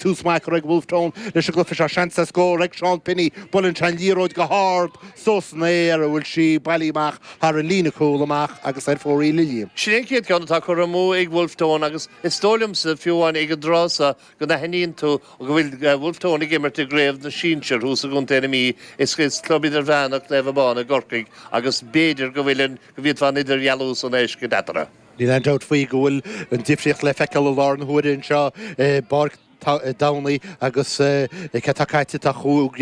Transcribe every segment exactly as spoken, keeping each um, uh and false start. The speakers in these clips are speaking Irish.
Tús maith ag Wolfe Tone leis an gcluiche seo seans ar scór ag Seán Pinney buaileann sé an liathróid go hard suas san aer a bhfuil sí bailithe amach thar an líne cúl amach agus ar fóraoil a Liam. Sin an chéad ceann atá curtha amú ag Wolfe Tone agus is dóigh liomsa fiú amháin ag an dtráth seo go n-aithníonn tú go bhfuil Wolfe Tone ag imirt i gcraobh na sinsear thuas i gContae na Mí is is club idirmheánach Naomh Abán i gCorcaigh agus b'fhéidir go bhfuil an go bhféadfá an idirdhealú san a fheiscint eatarthu. Níl aon dabht faoi go bhfuil an difríocht le feiceáil i láthair na huaire anseo i bPáirc Domhnaigh agus cé tá caite tá chúig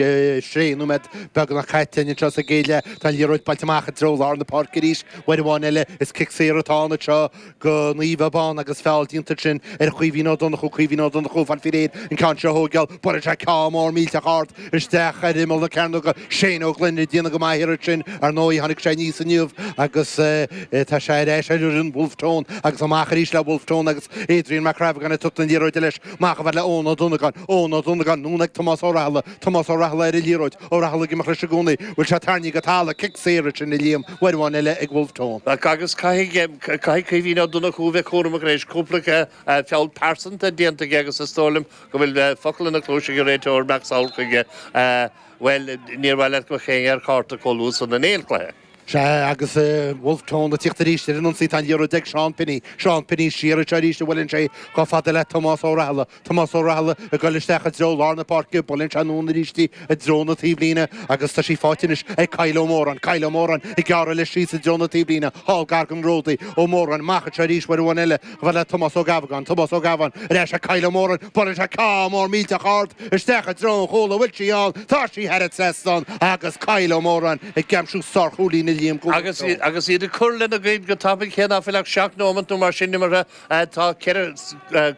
sé nóiméad beagnach caite anseo sa gcéad leath. Tá an liathróid buailte amach i dtreo lár na páirce arís uair amháin eile is cic saor atá ann anseo go Naomh Abán agus feall déanta ansin ar Chaoimhín Ó Donnchú Caoimhín Ó Donnchú fáil faoi réir an ceann seo a thógáil buaileann sé ceann mór millteach ard isteach ar imeall na cearnóga Shane Ó Gloinn ag déanamh go maith thiar ansin ar ndóigh tháinig sé aníos inniu agus tá sé ar ais ar fhoireann Wolfe Tone agus amach arís le Wolfe Tone agus Adrian Mac Crabhagáin ag tabhairt na liathróide leis amach a fhad le Eoin Ó Donnagáin Eoin Ó Donnagáin anonn ag Tomás Ó Rathaille Tomás Ó Rathaille ar an liathróid Ó Rathaille ag imeacht leis i gcónaí bhfuil sé tarraingthe go talamh cic saor ansin a Liam uair amháin eile ag Wolfe Tone. Agus caithfidh caithfidh Caoimhín Ó Donnchú bheith cúramach anois cúpla feall pearsanta déanta aige agus is dóigh liom go bhfuil focal ina chluais ag an réiteoir Mac Samhail chuige bhuel níor mhaith leat go mbeadh ar chárta chomh luath san in aon chluiche. Sea agus Wolfe Tone ag tíocht arís ar an ionsaí tá an liathróid ag Seán Pinney Seán Pinney siar anseo arís a bhuaileann sé chomh fada le Tomás Ó Rathaille Tomás Ó Rathaille ag dul isteach i dtreo lár na páirce buaileann sé anonn arís í i dtreo na taobhlíne agus tá sí faighte anois ag Kyle Ó Móráin Kyle Ó Móráin ag gearradh leis síos i dtreo na taobhlíne thall gar don ródaí Ó Móráin amach anseo arís uair amháin eile chomh fada le Tomás Ó Gabhagáin Tomás Ó Gabháin ar ais ag Kyle Ó Móráin buaileann sé ceann mór millteach ard isteach i dtreo an chúil bhfuil sí ann tá sí thar an trasnán agus Kyle Ó Móráin ag aimsiú sárchúilín a Liam Agus agus iad ag cur lena gcuid go tapaidh cé ná fuil ach seacht nóiméad nó mar sin imeartha tá ceithre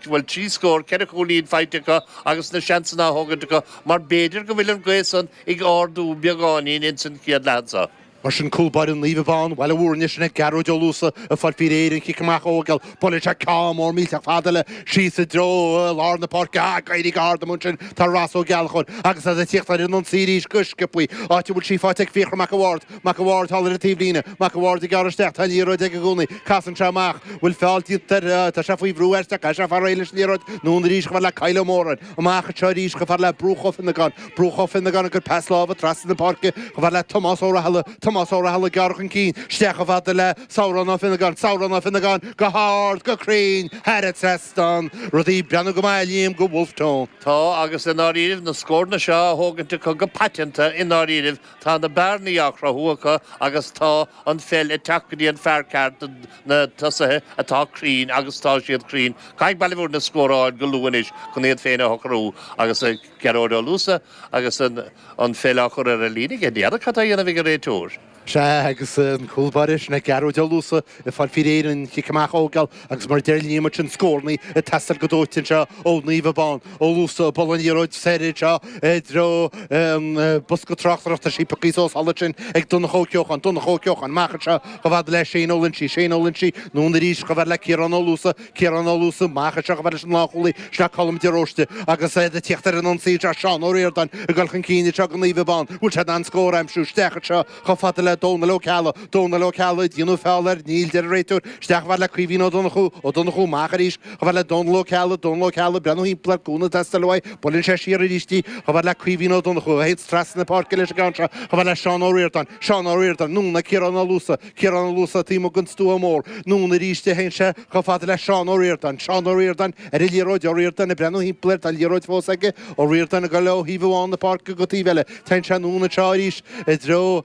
bhuel trí scór ceithre chúilín faighte acu agus na seansanna á thógaint acu mar b'fhéidir go bhfuil an ghaoth san ag ardú beagáinín ins an chéad leath seo. Mar sin cúl báire Naomh Abán Bhaile Mhúirne sin ag Gearóid Ó Luasa ag fáil faoi réir an chic amach a thógáil buaileann sé ceann mór millteach fada eile síos i dtreo lár na páirce ag éirí go hard amuigh ansin tá Ross Ó Gealchóir agus iad ag tíocht ar an ionsaí arís go sciobtha áit a bhfuil sí faighte ag Fiachra Mac a' Bhaird Mac a' Bhaird thall ar an taobhlíne Mac a' Bhaird ag gearradh isteach tá an liathróid aige i gcónaí casann sé amach bhfuil feall déanta air tá sé faoi bhrú aisteach caithfidh sé fáil réidh leis an liathróid anonn arís chomh fada le Kyle Ó Móráin amach anseo arís chomh fada le Brúch Ó Fionnagáin Brúch Ó Fionnagáin ag cur pas láimhe trasna na páirce chomh fada le Tomás Ó Rathaille Tomás Ó Rathaille ag gearradh chun cinn isteach chomh fada le Samhrán Ó Fionnagáin Samhrán Ó Fionnagáin go hard go cruinn thar an trasnán rudaí ag breathnú go maith Liam go Wolfe Tone. Tá agus i ndáiríribh na scóranna seo á thógaint acu go paiteanta i ndáiríribh tá na bearnaí á chruthú acu agus tá an pheil ag teacht go dtí an fear ceart na tosaithe atá cruinn agus tá siad cruinn. Caithfidh Baile Mhúirne scór a fháil go luath anois chun iad féin a shocrú agus Gearóid Ó Luasa agus an an pheil á chur ar an líne aige. N'fheadar cad tá á dhéanamh ag an réiteoir. Sea agus an cúl báire sin ag Gearóid Ó Luasa ag fáil faoi réir an chic amach a thógáil agus mar a deir Liam ansin scóranna ag teastáil go dóite anseo ó Naomh Abán. Ó Luasa ag bualadh an liathróid soir anseo i dtreo an bosca tráchtaireachta sí pioctha suas thall ansin ag Donncha Ó Ceocháin. Donncha Ó Ceocháin amach anseo chomh fada le Shane Ó Loinsigh. Shane Ó Loinsigh anonn arís chomh fada le Ciarán Ó Luasa. Ciarán Ó Luasa amach anseo chomh fada leis an lánchúlaí sin é Colm de Róiste agus iad ag tíocht ar an ionsaí anseo Seán Ó Ríordáin ag dul chun cinn anseo go Naomh Abán. Bhfuil sé in ann scór a aimsiú isteach anseo chomh fada le Dónal Ó Ceallaigh, Dónal Ó Ceallaigh, déanadh feall air, níl, deir an réiteoir, isteach chomh fada le Caoimhín Ó Donnchú, Ó Donnchú amach arís chomh fada le Dónal Ó Ceallaigh, Dónal Ó Ceallaigh, breathnú thimpeall air, cúnamh ag teastáil uaidh, buaileann sé siar arís í, chomh fada le Caoimhín Ó Donnchú, a théanns trasna na páirce leis an gceann seo, chomh fada le Seán Ó Ríordáin, Seán Ó Ríordáin, anonn ag Ciarán Ó Luasa, Ciarán Ó Luasa taobh amuigh den stua mór, anonn arís a théann sé chomh fada le Seán Ó Ríordáin, Seán Ó Ríordáin ar an liathróid, Ó Ríordáin ag breathnú thimpeall air, tá an liathróid fós aige, Ó Ríordáin ag dul ó thaobh amháin na páirce go taobh eile, téann sé anonn anseo arís i dtreo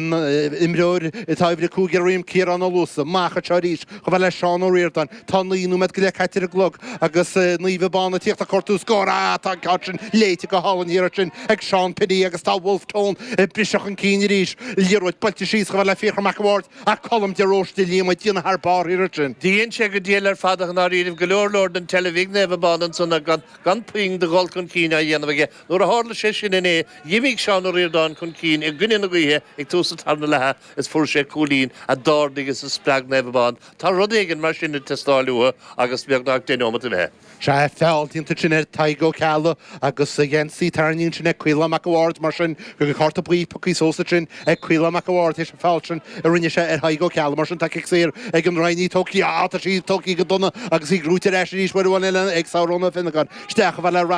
an imreoir atá uimhir a cúig ar a dhroim, Ciarán Ó Luasa, amach anseo arís chomh fada le Seán Ó Ríordáin. Tá naoi nóiméad go leith caite ar an gclog agus Naomh Abán ag tíocht ag cuartú scór. Ah, tá an ceann sin léite go hálainn thiar ansin ag Seán Pinney agus tá Wolfe Tone ag briseadh chun cinn arís. Liathróid buailte síos chomh fada le Fiachra Mac a' Bhaird ach Colm de Róiste Liam ag déanamh thar barr thiar ansin. Dhein sé go diail ar fad ach i ndáiríribh go leor leor den tseilbh ag Naomh Abán ansan gan gan puinn de dhul chun cinn á dhéanamh aige. Nuair a tharla sé sin inné, d'imigh Seán Ó Ríordáin chun cinn i gcoinne na gaoithe ag tús an tarna leatha is fuair sé cúilín a d'ardaigh is a spreag Naomh Abán. Tá rud éigin mar sin ag teastáil uathu agus beagnach deich nóimeat imithe. Sea, feall déanta ansin ar Tadhg Ó Ceallaigh agus a gheansaí tarraingthe ansin ag Caolán Mac a' Bhaird, mar sin go bhfuil cárta buí pioctha suas ansin ag Caolán Mac a' Bhaird théis an feall sin a rinne sé ar Thadhg Ó Ceallaigh. Mar sin tá cic saor ag an Rinn í tógtha, á, tá sí tógtha go dona agus í gnóite ar ais arís uair amháin eile ag Samhróna Ó Fionnagáin. Isteach a bheith le